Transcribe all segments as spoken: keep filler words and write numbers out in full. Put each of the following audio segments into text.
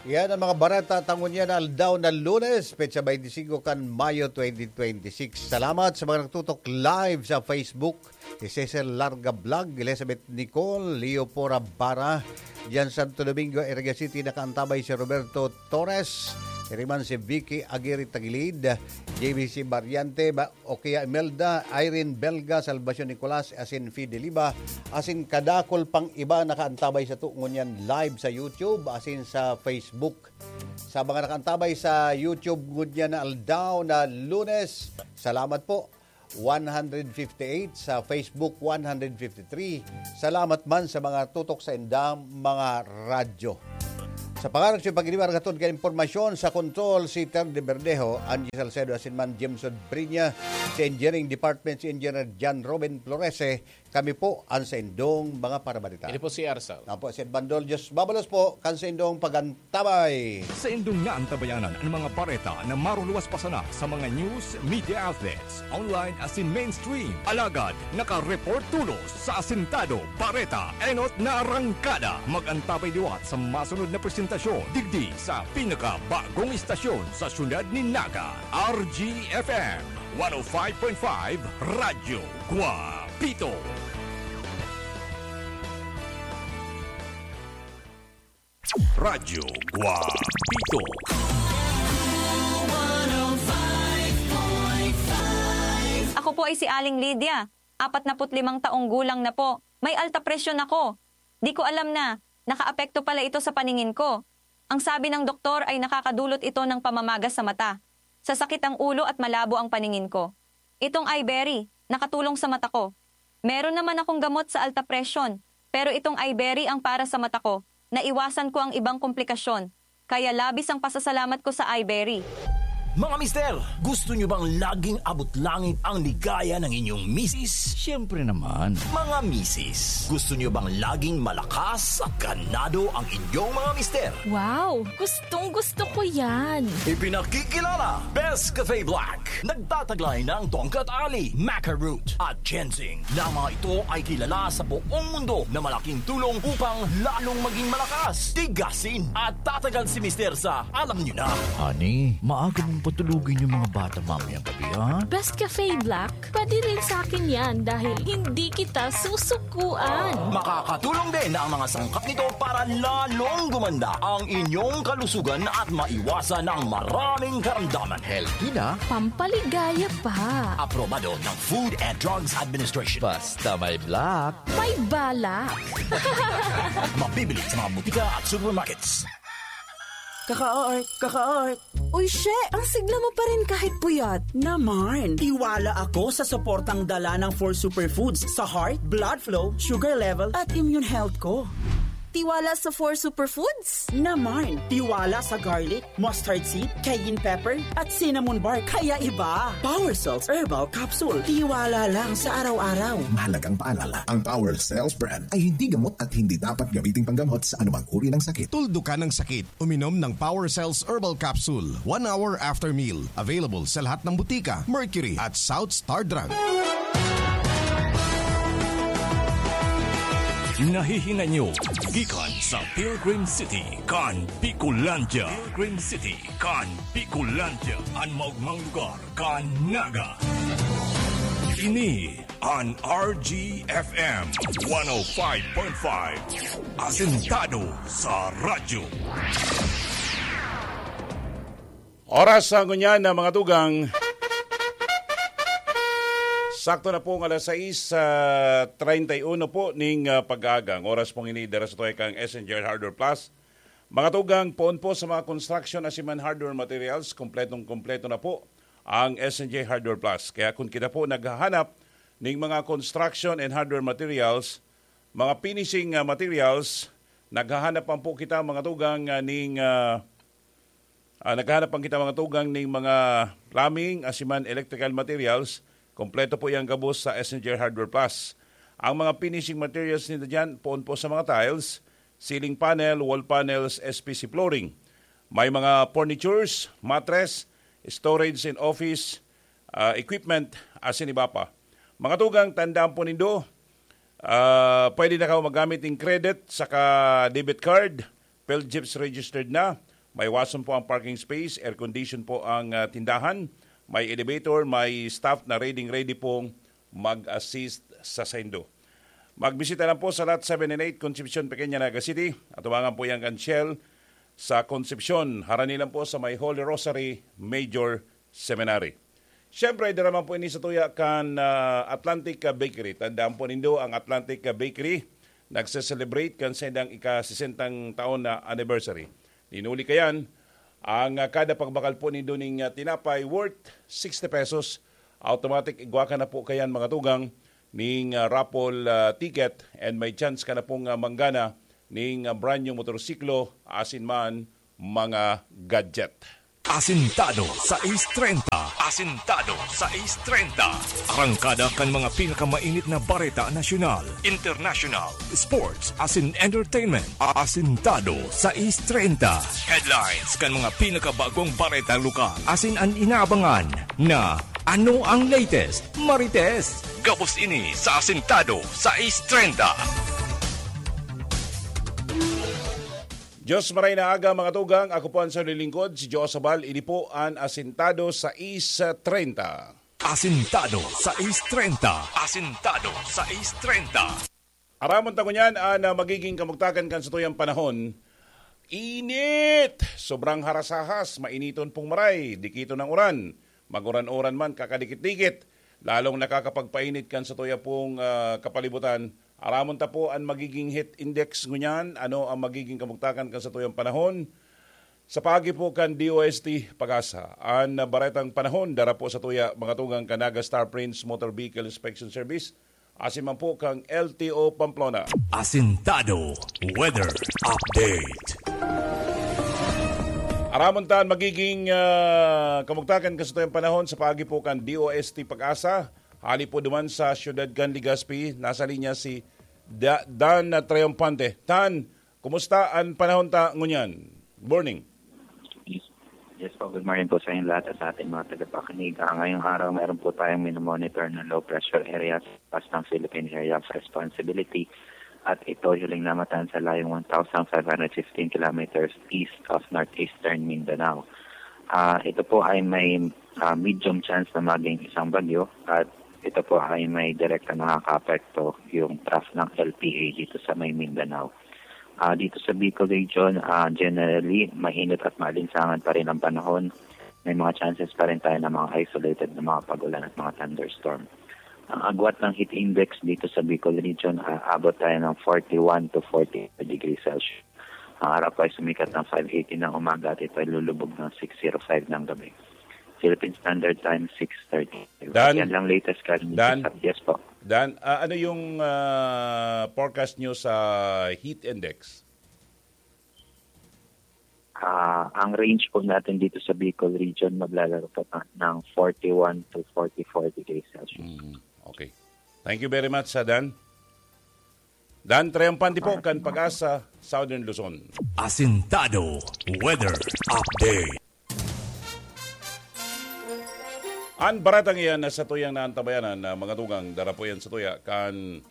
Yan ang mga bareta ta ngunyan na aldaw na Lunes, petsa twenty-five kan Mayo twenty twenty-six. Salamat sa mga nagtutok live sa Facebook, si Cecil Larga Vlog, Elizabeth Nicole, Leo Pora Bara, diyan Santo Domingo, Iriga City, nakaantabay si Roberto Torres, iriman si Vicky Aguirre Tagilid, J B C Variante, ba, o kaya Imelda, Irene Belga, Salvacion Nicolas, asin Fideliba, asin kadakol pang iba nakaantabay sa tungon yan live sa YouTube, asin sa Facebook. Sa mga nakaantabay sa YouTube ngunyan na aldaw na Lunes, salamat po. One hundred fifty-eight, sa Facebook one hundred fifty-three. Salamat man sa mga tutok sa indang mga radyo. Sa pangaran sa pagdiriwang hatod ka impormasyon sa control, si Ter de Verdejo, Angie Salcedo, asin man Jameson Brinya, sa engineering department, si Engineer John Robin Florese, kami po ang sa indong mga parabalita. Ini po si Arsal. Ako po si Ed Bandol. Diyos mabalos po kan sa indong pagantabay. Sa indong naantabayanan ang mga bareta na maruluwas pa sana sa mga news media outlets, online asin mainstream. Alagad, nakareport tulos sa asintado, bareta, enot na arangkada. Mag-antabay liwat sa masunod na presentasyon digdi sa pinakabagong istasyon sa syudad ni Naga, R G F M one oh five point five Radyo Guapito. Radyo Guapito. Ako po ay si Aling Lydia, apat na put limang taong gulang na po. May alta presyon ako. Di ko alam na nakaapekto pala ito sa paningin ko. Ang sabi ng doktor ay nakakadulot ito ng pamamaga sa mata, sasakit ang ulo at malabo ang paningin ko. Itong Iberry, nakatulong sa mata ko. Meron naman akong gamot sa alta presyon, pero itong Iberry ang para sa mata ko. Naiwasan ko ang ibang komplikasyon, kaya labis ang pasasalamat ko sa Iberry. Mga mister, gusto nyo bang laging abot langit ang ligaya ng inyong misis? Siyempre naman. Mga misis, gusto nyo bang laging malakas at ganado ang inyong mga mister? Wow! Gustong gusto ko yan! Ipinakikilala, Best Cafe Black. Nagtataglay ng tongkat ali, maca root, at ginseng. Na mga ito ay kilala sa buong mundo na malaking tulong upang lalong maging malakas, tigasin, at tatagal si mister sa alam nyo na. Honey, maaga mong patulugin yung mga bata mamayang gabi, ha? Best Cafe Black, pwede rin sa akin yan dahil hindi kita susukuan. Makakatulong din ang mga sangkap nito para lalong gumanda ang inyong kalusugan at maiwasan ang maraming karamdaman. Healthy na, Pampaligaya pa. Aprobado ng Food and Drugs Administration. Basta may black. May balak. Mabibili sa mga butika at supermarkets. Kaka-art, kaka-art. Uy, she! Ang sigla mo pa rin kahit puyat. Naman. Tiwala ako sa suportang dala ng four superfoods sa heart, blood flow, sugar level, at immune health ko. Tiwala sa four superfoods? Naman. Tiwala sa garlic, mustard seed, cayenne pepper, at cinnamon bark. Kaya iba. Power Cells Herbal Capsule. Tiwala lang sa araw-araw. Mahalagang paalala, ang Power Cells brand ay hindi gamot at hindi dapat gamitin panggamot sa anumang uri ng sakit. Tuldukan ang sakit. Uminom ng Power Cells Herbal Capsule one hour after meal. Available sa lahat ng butika, Mercury at South Star Drug. Nahihinanyo gikan sa Pilgrim City kan Bicolandia. Pilgrim City kan Bicolandia, an maogmang lugar kan Naga. Ini an R G F M one oh five point five, asentado sa radyo. Oras sa ngunyan na mga tugang. Sakto na po ang alas sais, ah, treinta y uno po ning, ah, pag-aaga. Ang oras pong ini dara sa tuway kang S N J Hardware Plus. Mga tugang, poon po sa mga construction asiman hardware materials, kompletong-kompleto na po ang S N J Hardware Plus. Kaya kung kita po naghahanap ning mga construction and hardware materials, mga finishing, ah, materials, naghahanap man po kita, mga tugang, ah, ning, ah, ah, naghahanap man kita, mga tugang, ning mga plumbing asiman electrical materials, kompleto po yang gabos sa S N J Hardware Plus. Ang mga finishing materials nito dyan, poon po sa mga tiles, ceiling panel, wall panels, S P C flooring. May mga furnitures, mattress, storage and office, ah, equipment, asin iba pa. Mga tugang, tandaan po nindo, ah, pwede na kamo magamit ning credit saka debit card, PhilGEPS registered na, Maiwason po ang parking space, air condition po ang, ah, tindahan, may elevator, may staff na ready-ready pong mag-assist sa saindo. Magbisita lang po sa Lot seven and eight, Concepcion, Pequeña, Naga City. Atubangan po yan kan Shell sa Concepcion. Harani lang po sa may Holy Rosary Major Seminary. Siyempre, dara man po ini sa tuya kan, ah, Atlantic, ah, Bakery. Tandaan po nindo ang Atlantic, ah, Bakery. Nagse-celebrate kan saindang ika-sesentang taon na anniversary. Linuli kayan, ang, ah, kada pagbakal po nindo ning, ah, tinapay worth sixty pesos, automatic igwa ka na po kayan, mga tugang, ning, ah, raffle, ah, ticket, and may chance ka na pong, ah, manggana ning, ah, brand new motorsiklo, asin man mga gadget. Asintado sais treinta. Asintado sais treinta. Arangkada kan mga pinakamainit na bareta nasyonal, international, sports, asin entertainment. Asintado sais treinta. Headlines kan mga pinakabagong bareta lokal. Asin an inaabangan na ano ang latest, Marites. Gabos ini sa Asintado sais treinta. Diyos maray na aga, mga tugang. Ako po ang sayo lingkod, si Joe Sabal. Ini po an Asintado sais treinta. Asintado sais treinta. Asintado sais treinta. Aramon ta ngunyan an, ah, magiging kamugtakan kan satuyang panahon. Init! Sobrang harasahas, mainiton pong maray, dikiton ang uran. Maguran-uran man, kakadikit-dikit. Lalong nakakapagpainit kan satuya pong, ah, kapalibutan. Aramon ta po an magiging heat index ngunyan, ano ang magiging kamugtakan kan satuyang panahon. Sa paagi po kan D O S T Pag-asa, an baretang panahon dara po sa tuya, mga tugang kan Naga Star Prince Motor Vehicle Inspection Service, asin man po kan L T O Pamplona. Asintado Weather Update. Aramon ta an magiging, ah, kamugtakan kan satuyang panahon sa paagi po kan D O S T Pag-asa. Hali po duman sa siyudad kan Legazpi, nasa linya si Da-, Dan Triomphante. Dan, kumusta an panahon ta ngunyan? Good morning. Yes po, good morning po sa inyong lahat at sa ating mga tagapakinig. Ah, ngayong araw, meron po tayong minomonitor na low pressure area sa taas ng Philippine Area of Responsibility at ito huling namatan sa layong one thousand five hundred fifteen kilometers east of northeastern Mindanao. Ah, ito po ay may, ah, medium chance na maging isang bagyo at ito po ay may direkta nakakaapekto yung trough ng L P A dito sa may Mindanao. Ah, dito sa Bicol Region, ah, generally, mainit at maalinsangan pa rin ang panahon. May mga chances pa rin tayo ng mga isolated na mga pag-ulan at mga thunderstorm. Ang agwat ng heat index dito sa Bicol Region, ah, abot tayo ng forty-one to forty degrees Celsius. Ang araw po ay sumikat ng five eighty ng umaga at ito ay lulubog ng six zero five ng gabi. Philippine Standard Time, six thirty. Dan? Yan lang latest ka. Dan? Yes po. Dan, ah, ano yung, ah, forecast nyo sa heat index? Ah, ang range po natin dito sa Bicol Region, maglalaro po ng forty-one to forty-four degrees Celsius. Mm, okay. Thank you very much, sa Dan. Dan Triomphante po, kan Pag-asa, Southern Luzon. Asintado Weather Update. An baretang iyan na sa tuyang naantabayanan na mga tugang dara po yan sa tuya kan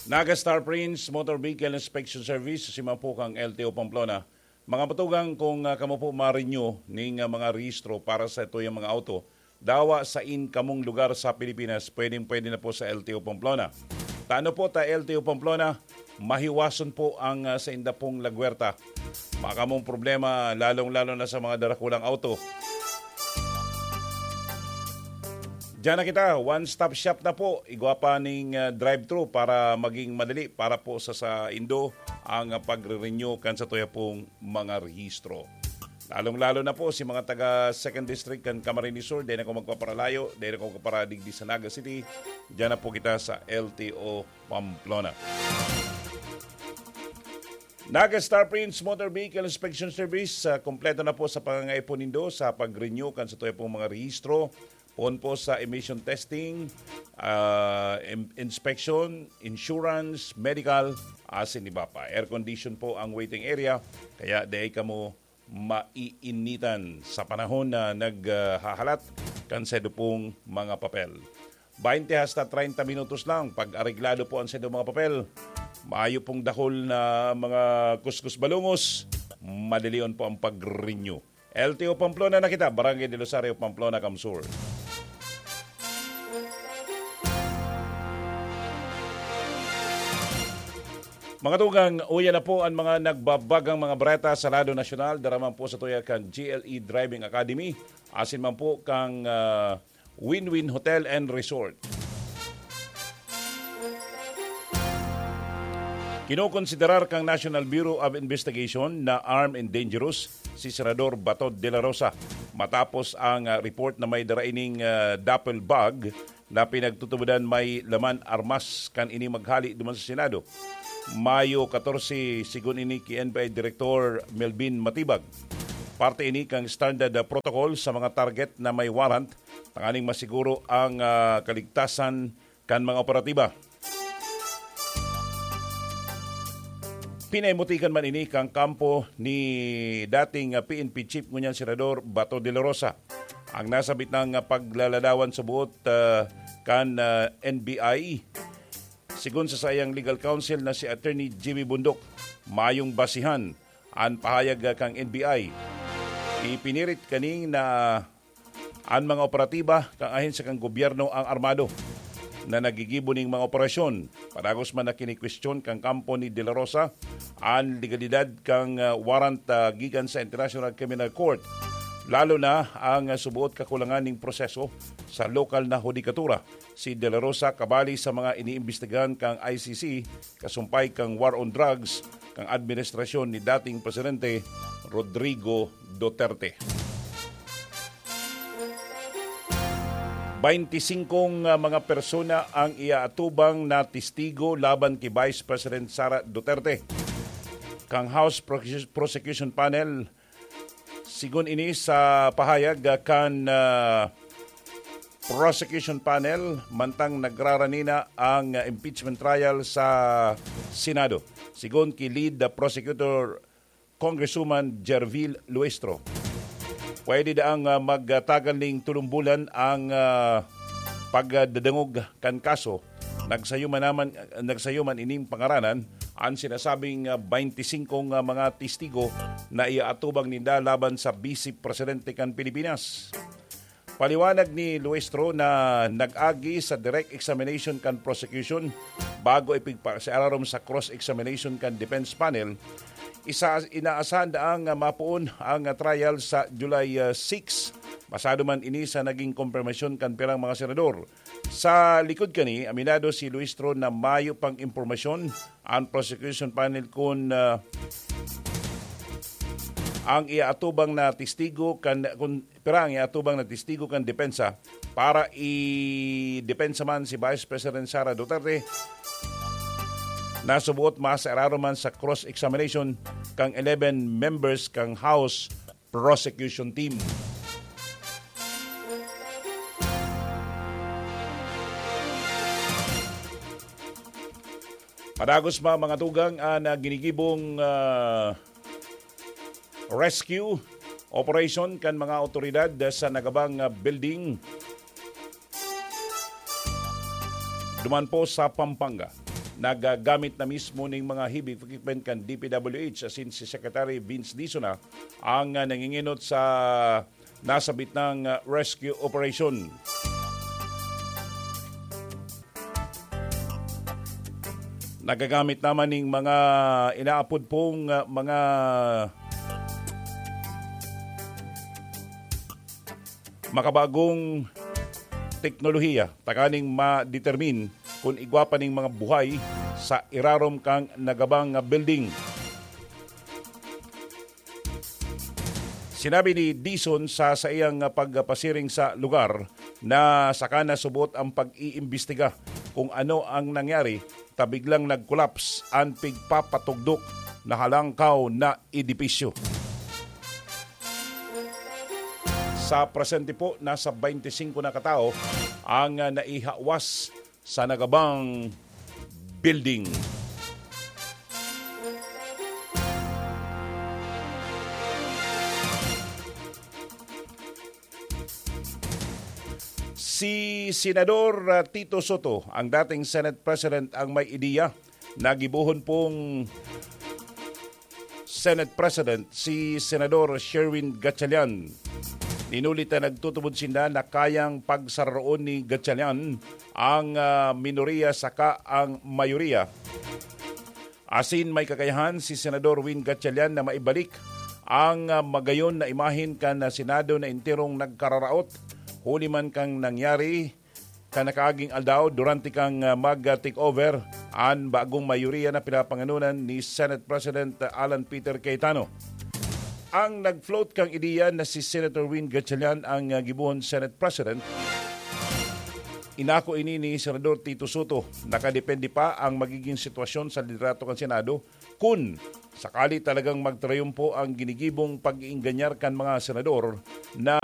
Naga Star Prince Motor Vehicle Inspection Service, si Mapukang L T O Pamplona. Mga matugang, kung, ah, kamo po ma-renew ning, ah, mga rehistro para sa tuyang mga auto, dawa sa in kamong lugar sa Pilipinas, pwedeng-pwede na po sa L T O Pamplona. Tano po ta L T O Pamplona, mahiwason po ang, ah, sainda pong lagwerta. Makamong problema, lalong-lalo na sa mga darakulang auto. Diyan na kita, one-stop shop na po. Igwa pa ning, ah, drive-thru para maging madali para po sa, sa indo ang, ah, pagre-renew kan sa tuya pong mga rehistro. Lalong-lalo na po si mga taga Second District kan Camarines Sur, dahil ako magpaparalayo, dahil ako magpaparadigdi sa Naga City. Diyan na po kita sa L T O Pamplona. Naga Star Prince Motor Vehicle Inspection Service, ah, kompleto na po sa pangangaipo nindo sa pag-renew kan sa tuya pong mga rehistro, poon po sa emission testing, ah, im- inspection, insurance, medical, asin iba pa. Air condition po ang waiting area, kaya dai kamo maiinitan sa panahon na naghahalat kan saindo pong mga papel. Baynte hasta treinta minutos lang pag areglado po ang saindo mga papel. Maayo pong dakul na mga kuskus balungos. Madalion po ang pag-renew. L T O Pamplona na kita, Barangay del Rosario, Pamplona, Kamsur. Mga tugang, uya na po ang mga nagbabagang mga bareta sa lado nasyonal. Dara man po sa tuya kan G L E Driving Academy, asin man po kang, ah, Win-Win Hotel and Resort. Kinokonsiderar kang National Bureau of Investigation na armed and dangerous si Senador Bato de la Rosa matapos ang, ah, report na may dara ining, ah, duffel bag na pinagtutubodan may laman armas kan ini maghali duman sa Senado. Mayo katorse, sigon ini ki N B I Director Melvin Matibag. Parte ini kan standard, ah, protocol sa mga target na may warrant tanganing masiguro ang, ah, kaligtasan kan mga operatiba. Pinaimutikan man ini kan kampo ni dating, ah, P N P Chief ngunyan Senador Bato de la Rosa. Ang nasabit na paglaladawan subot, ah, kan, ah, N B I, sigon sa saiyang legal counsel na si Attorney Jimmy Bundok, mayong basihan an pahayag, ah, kan N B I. Ipinirit kani na an mga operatiba kan ahensya kan gobyerno ang armado na naggigibo ning mga operasyon. Padagos man na kinikwestiyon kan kampo ni De La Rosa an legalidad kan, ah, warrant, ah, gikan sa International Criminal Court, lalo na ang, ah, subuot kakulangan ning proseso sa lokal na hudikatura. Si De La Rosa kabali sa mga iniimbestigahan kan I C C kasumpay kan war on drugs kan administrasyon ni dating Presidente Rodrigo Duterte. Baintisingkong, ah, mga persona ang iaatubang na testigo laban ki Vice President Sara Duterte. Kang House Prosecu-, Prosecution Panel, sigon ini sa pahayag, ah, kan, ah, Prosecution Panel, mantang nagrarani na ang, ah, impeachment trial sa Senado. Sigon ki Lead, ah, Prosecutor Congresswoman Gerville Luistro, pwede daang, ah, magtagal ning tolong bulan ang, ah, pagdadangog kan kaso. Nagsayo man naman, nagsayo man ining pangaranan an sinasabing, ah, baintisingkong, ah, mga testigo na iaatubang ninda laban sa Vice Presidente kan Pilipinas. Paliwanag ni Luistro na nag-agi sa direct examination kan prosecution bago ipigpa-, sa ararom sa cross-examination kan defense panel, isa, inaasahan daang mapoon ang trial sa July, ah, six. Basado man ini sa naging kompermasyon kan pirang mga senador. Sa likod kani, aminado si Luistro na mayo pang impormasyon ang prosecution panel kun, ah, ang iaatubang na testigo kan, kun pira ang iatubang na testigo kan depensa para idepensa man si Vice President Sara Duterte, nasubuot masairarom man sa cross-examination kan eleven members kan House Prosecution Team. Padagos pa, mga tugang, an, ah, ginigibong, ah, rescue operation kan mga awtoridad sa nagabang, ah, building duman po sa Pampanga. Nagagamit na mismo ning mga heavy equipment kan D P W H, asin si Secretary Vince Dizon na ang, ah, nanginginot sa nasabit ng, ah, rescue operation. Nagagamit naman ning mga inaapod pong, ah, mga makabagong teknolohiya, tanganing ma-determine kun igwa pa ning mga buhay sa irarom kan nagabang nga building. Sinabi ni Dizon sa saiyang pagpasiring sa lugar na saka na subot ang pag-iimbestiga kung ano ang nangyari ta biglang nag-collapse an pigpapatugdok na halangkaw na edipisyo. Sa presente po, nasa baintisingko na katao ang, ah, naihawas sa nagabang building. Si Senador, ah, Tito Soto, ang dating Senate President, ang may ideya na gibohon pong Senate President, si Senador Sherwin Gatchalian. Inulit na nagtutubod sinda na kayang pagsararoon ni Gatchalian ang, ah, minoriya saka ang mayoriya. Asin may kakayahan si Senador Win Gatchalian na maibalik ang, ah, magayon na imahen kan, ah, Senado na enterong nagkararaot huli man kan nangyari kan nakaaging aldaw durante kan, ah, mag-take over an bagong mayoriya na pinapanganonan ni Senate President Alan Peter Cayetano. Ang nag-float kang ideya na si Senator Win Gatchalian ang, ah, gibohon Senate President, inako ini ni Senador Tito Soto. Nakadepende pa ang magiging sitwasyon sa liderato kan Senado kun sakali talagang magtrayumpo ang ginigibong pag-iingganyar kan mga senador na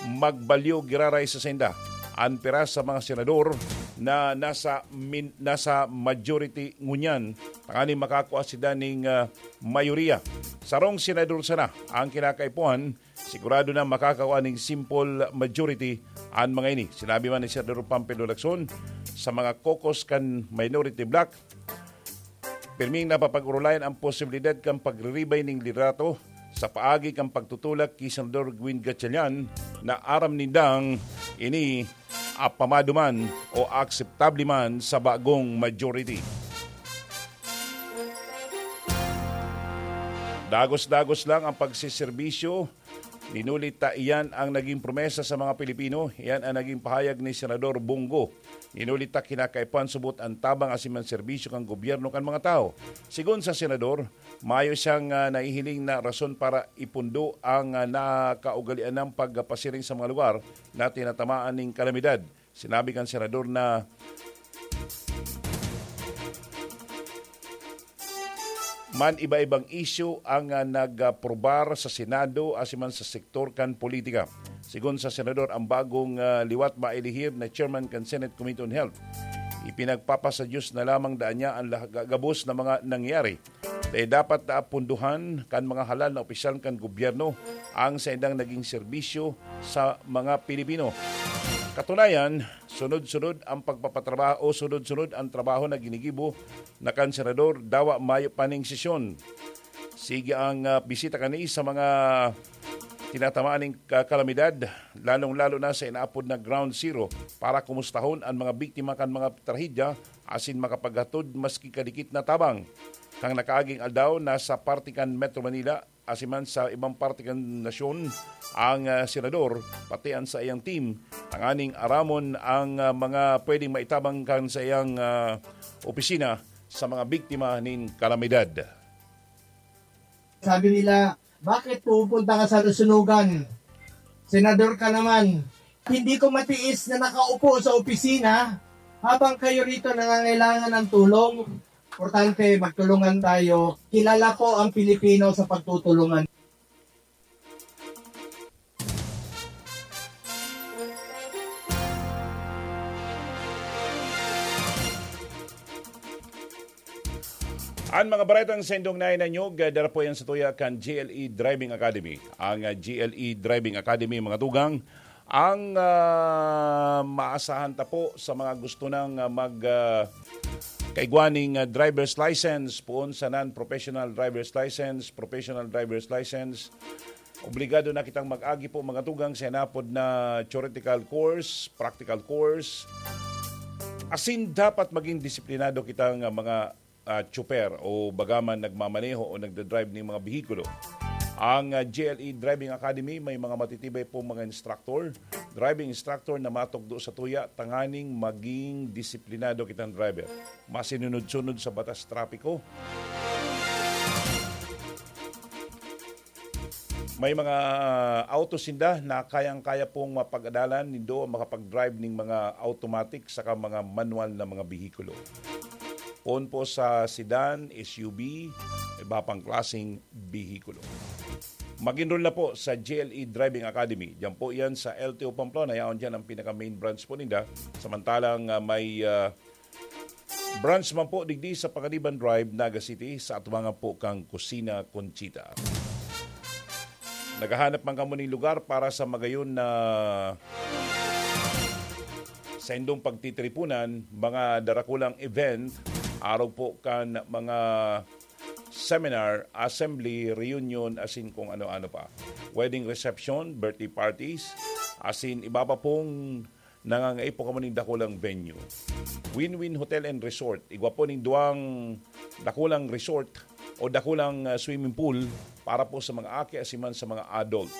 magbalyo giraray sa sainda. An pira sa mga senador na nasa min-, nasa majority ngunyan, tanganing makakua sila ning, ah, mayoriya. Sarong senador sana ang kinakaipuhan, sigurado na makakakua ning simple majority an mga ini. Sinabi man ni Senador Panfilo Lacson, sa mga caucus kan minority bloc, pirming napapag-orolayan ang posibilidad kan pagriribay ning liderato sa paagi kan pagtutulak ki Senador Win Gatchalian na aram nindang ini apamado man o akseptable man sa bagong majority. Dagos-dagos lang ang pagsiserbisyo. Inulit ta, iyan ang naging promesa sa mga Pilipino. Iyan ang naging pahayag ni Senador Bong Go. Inulit ta, kinakaipuhan subot ang tabang asin man serbisyo kan gobyerno kan mga tawo. Sigon sa senador, mayo siyang, ah, nahihiling na rason para ipundo ang, ah, nakaugalian ng pagpasiring sa mga lugar na tinatamaan ning kalamidad. Sinabi kan senador na man iba-ibang isyu ang, ah, nagprobar sa Senado asin man sa sektor kan politika. Sigon sa senador, ang bagong, ah, liwat mailihir na chairman kan Senate Committee on Health. Ipinagpapasa Diyos na lamang daan niya ang lah-, ga-, gabos na mga nangyari. Dai dapat na apunduhan kan mga halal na opisyal kan gobyerno ang saindang naging serbisyo sa mga Pilipino. Katunayan, sunod-sunod ang pagpapatrabaho o sunod-sunod ang trabaho na ginigibo na kan senador, dawa mayo pa ning sesyon. Sige ang, ah, bisita kani sa mga tinatamaan ning ka-, kalamidad, lalong-lalo na sa inaapod na Ground Zero para kumustahon an mga biktima kan mga trahedya asin makapaghatod maski kadikit na tabang. Kan nakaaging aldaw, nasa parte kan Metro Manila, asin man sa ibang parte kan nasyon, ang, ah, senador, pati an saiyang team, tanganing aramon ang, ah, mga pwedeng maitabang kan saiyang, ah, opisina sa mga biktima nin kalamidad. Sabi nila, "Bakit pupunta ka sa Lusunugan? Senador ka naman." Hindi ko matiis na nakaupo sa opisina habang kayo rito nangangailangan ng tulong. Importante, magtulungan tayo. Kilala ko ang Pilipino sa pagtutulungan. An mga baretang sendong na inanyog, dara po yan sa tuya kan G L E Driving Academy. Ang, ah, G L E Driving Academy, mga tugang, ang, ah, maasahan ta po sa mga gusto nang, ah, mag, ah, kaigwa ning, ah, driver's license, poon sa non-professional driver's license, professional driver's license. Obligado na kitang mag-agi po, mga tugang, sa inapod na theoretical course, practical course. Asin dapat maging disiplinado kita nga mga, ah, tsuper o bagaman nagmamaneho o nagdadrive ning mga behikulo. Ang, ah, G L E Driving Academy may mga matitibay pong mga instructor, driving instructor na matukdo sa tuya tanganing maging disiplinado kitang driver. Masinunod-sunod sa batas trapiko. May mga auto sinda na kayang-kaya pong mapag-adalan nindo makapag-drive ning mga automatic saka mga manual na mga behikulo. Poon po sa sedan, S U V, iba pang klaseng behikulo. Mag-enroll na po sa G L E Driving Academy. Diyan po yan sa L T O Pamplona. Yaon dyan ang pinaka-main branch po ninda. Samantalang, ah, may, ah, branch man po digdi sa Panganiban Drive, Naga City, sa atubangan po kang Kusina Conchita. Naghahanap man kamo ning lugar para sa magayon na saindong pagtitiripunan, mga darakulang event, arog po kan mga seminar, assembly, reunion, asin kung ano-ano pa. Wedding reception, birthday parties, asin iba pa pong nangangaipo kamo ning dakulang venue. Win-Win Hotel and Resort. Igwa po ning duwang dakulang resort o dakulang, ah, swimming pool para po sa mga aki asin man sa mga adult.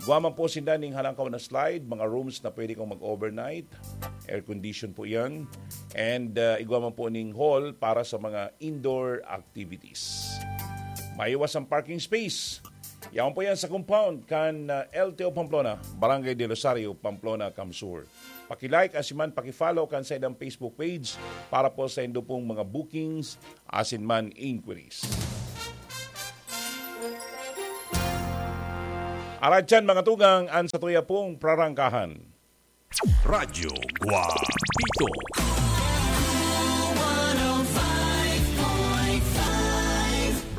Igwa man po sinda ning halangkaw na slide, mga rooms na pwede kang mag-overnight. Air condition po yan. And, ah, igwa man po ning hall para sa mga indoor activities. Maiwas ang parking space. Yaon po yan sa compound kan, ah, L T O Pamplona, Barangay del Rosario, Pamplona, Camsur. Paki-like asin man paki-follow kan saindang Facebook page para po sa indo pong mga bookings asin man inquiries. Arat yan, mga tugang, an satuya pong prarangkahan. Radyo Guapito.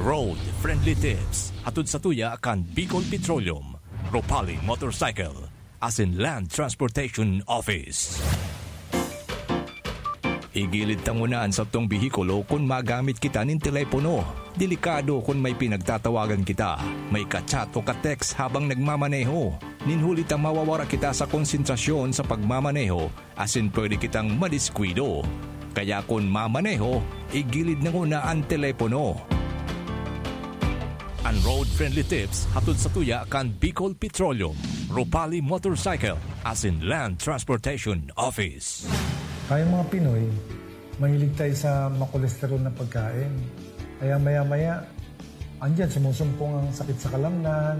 Road Friendly Tips. Hatod satuya kan Bicol Petroleum, Ropali Motorcycle, asin Land Transportation Office. Igilid ta nguna an satong behikulo kun magamit kita nin telepono. Delikado kun may pinagtatawagan kita, may ka-chat o ka-text habang nagmamaneho. Nin huli ta mawawara kita sa konsentrasyon sa pagmamaneho asin pwede kitang madiskuido. Kaya kun mamaneho, igilid na nguna an telepono. An road-friendly tips hatod satuya kan Bicol Petroleum, Ropali Motorcycle, asin Land Transportation Office. Tayong mga Pinoy, mahilig tayo sa makolesterol na pagkain. Kaya maya-maya, andyan, sumusumpong ang sakit sa kalamnan,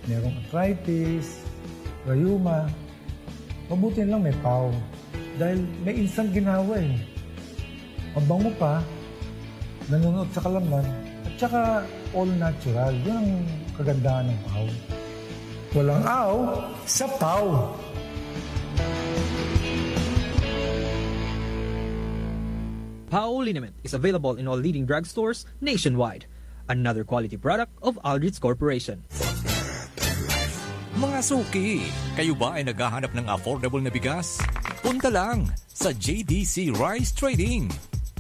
merong arthritis, rayuma. Mabuti na lang may pau. Dahil may instant ginhawa eh. Mabango pa, nanunuot sa kalamnan, at saka all natural. Yun ang kagandahan ng pau. Walang aw sa pau. Pau liniment is available in all leading drugstores nationwide. Another quality product of Aldrich Corporation. Mga suki, kayo ba ay naghahanap ng affordable na bigas? Punta lang sa J D C Rice Trading.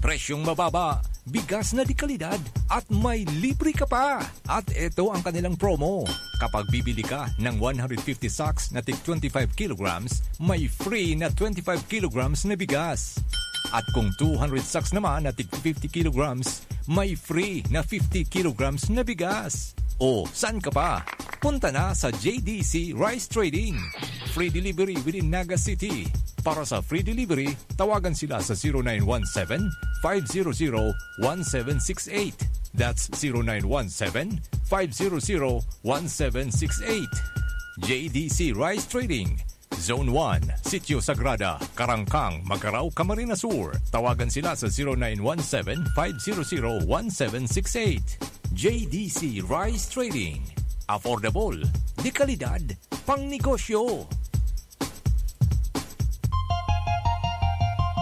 Presyong mababa, bigas na de kalidad, at may libre ka pa. At eto ang kanilang promo. Kapag bibili ka ng one hundred fifty sacks na tig twenty-five kilograms, may free na twenty-five kilograms na bigas. At kung two hundred sacks naman na tig fifty kilograms, may free na fifty kilograms na bigas. O, saan ka pa? Punta na sa J D C Rice Trading. Free delivery within Naga City. Para sa free delivery, tawagan sila sa zero nine one seven, five zero zero, one seven six eight. That's zero nine one seven, five zero zero, one seven six eight. J D C Rice Trading, Zone one, Sitio Sagrada, Karangkang, Magarao, Camarines Sur. Tawagan sila sa zero nine one seven, five zero zero, one seven six eight. J D C Rice Trading. Affordable, de kalidad, pang negosyo.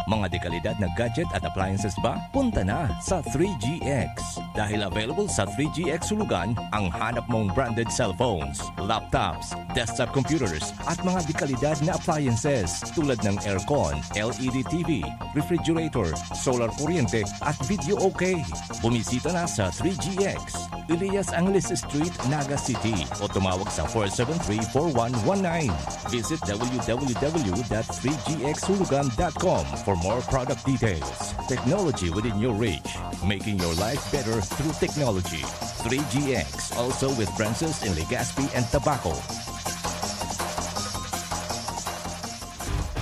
Mga dekalidad na gadget at appliances ba? Punta na sa three G X. Dahil available sa three G X Hulugan ang hanap mong branded cellphones, laptops, desktop computers, at mga dekalidad na appliances tulad ng aircon, L E D T V, refrigerator, solar kuryente, at video okay. Bumisita na sa three G X, Elias Angeles Street, Naga City, o tumawag sa four seven three, four one one nine. Visit W W W dot three G X hulugan dot com for more product details. Technology within your reach, making your life better through technology. Three G X, also with branches in Legazpi and Tabaco.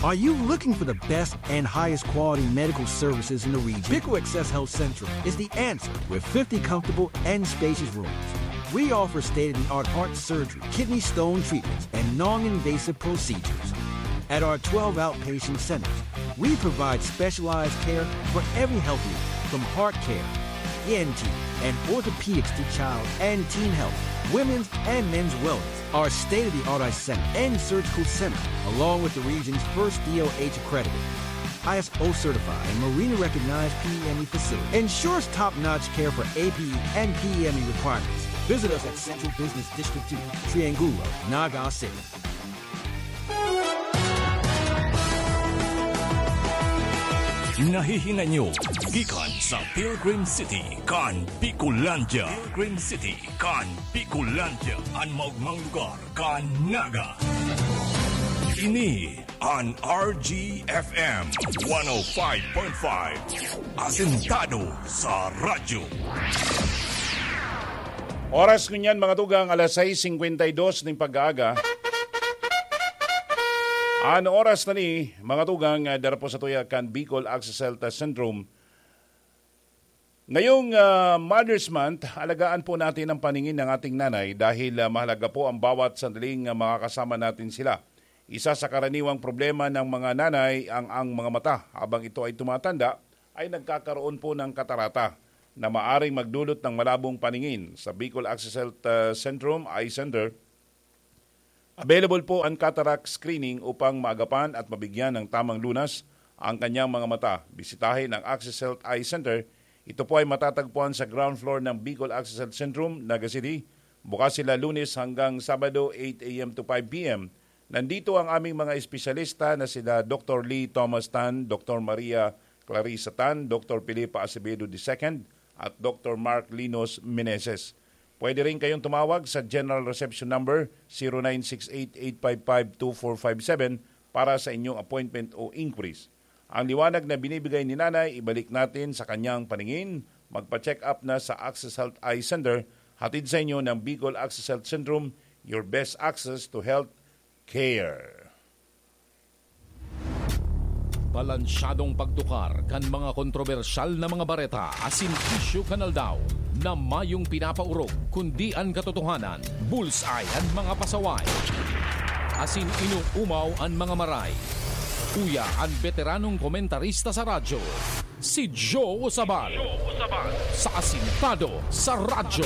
Are you looking for the best and highest quality medical services in the region? Pico Access Health Central is the answer with fifty comfortable and spacious rooms. We offer state-of-the-art heart surgery, kidney stone treatments, and non-invasive procedures. At our twelve outpatient centers, we provide specialized care for every health need, from heart care, E N T, and orthopedics to child and teen health, women's and men's wellness. Our state-of-the-art eye center and surgical center, along with the region's first D O H accredited, I S O certified, and Marina recognized P E M E facility, ensures top-notch care for A P E and P E M E requirements. Visit us at Central Business District two, Triangulo, Naga City. Nahihinay nyo Gikan sa Pilgrim City, kan Bicolandia. Pilgrim City, kan Bicolandia. An maogmang lugar, kan Naga. Ini an R G F M one oh five point five. Asentado sa radyo. Oras ngunyan, mga tugang, alas sais singkwenta y dos ning pag-aaga. An oras na ni, mga tugang, ah, dara po sa tuya kan Bicol Access Health Centrum. Ngayong, ah, Mother's Month, alagaan po natin ang paningin ng ating nanay dahil, ah, mahalaga po ang bawat sandaling, ah, makakasama natin sila. Isa sa karaniwang problema ng mga nanay ang, ang mga mata. Habang ito ay tumatanda, ay nagkakaroon po ng katarata na maaring magdulot ng malabong paningin. Sa Bicol Access Health, ah, Centrum, Eye Center, available po ang cataract screening upang maagapan at mabigyan ng tamang lunas ang kanyang mga mata. Bisitahin ang Access Health Eye Center. Ito po ay matatagpuan sa ground floor ng Bicol Access Health Centrum, Naga City. Bukas sila Lunes hanggang Sabado, eight a m to five p m. Nandito ang aming mga espesyalista na sila Doktor Lee Thomas Tan, Doktor Maria Clarissa Tan, Doktor Felipa Acevedo the second, at Doktor Mark Linos Meneses. Pwede rin kayong tumawag sa General Reception Number zero nine six eight eight five five two four five seven para sa inyong appointment o inquiries. Ang liwanag na binibigay ni Nanay, ibalik natin sa kanyang paningin. Magpa-check up na sa Access Health Eye Center, hatid sa inyo ng Bicol Access Health Centrum, your best access to health care. Balansyadong pagtukar kan mga kontrobersyal na mga bareta asin isyu kan aldaw na mayong pinapaorog, kundi an katotohanan, bullseye an mga pasaway, asin inuumaw an mga maray. Uya an beteranong komentarista sa radyo, si Joe Usabal, sa Asintado sa Radyo.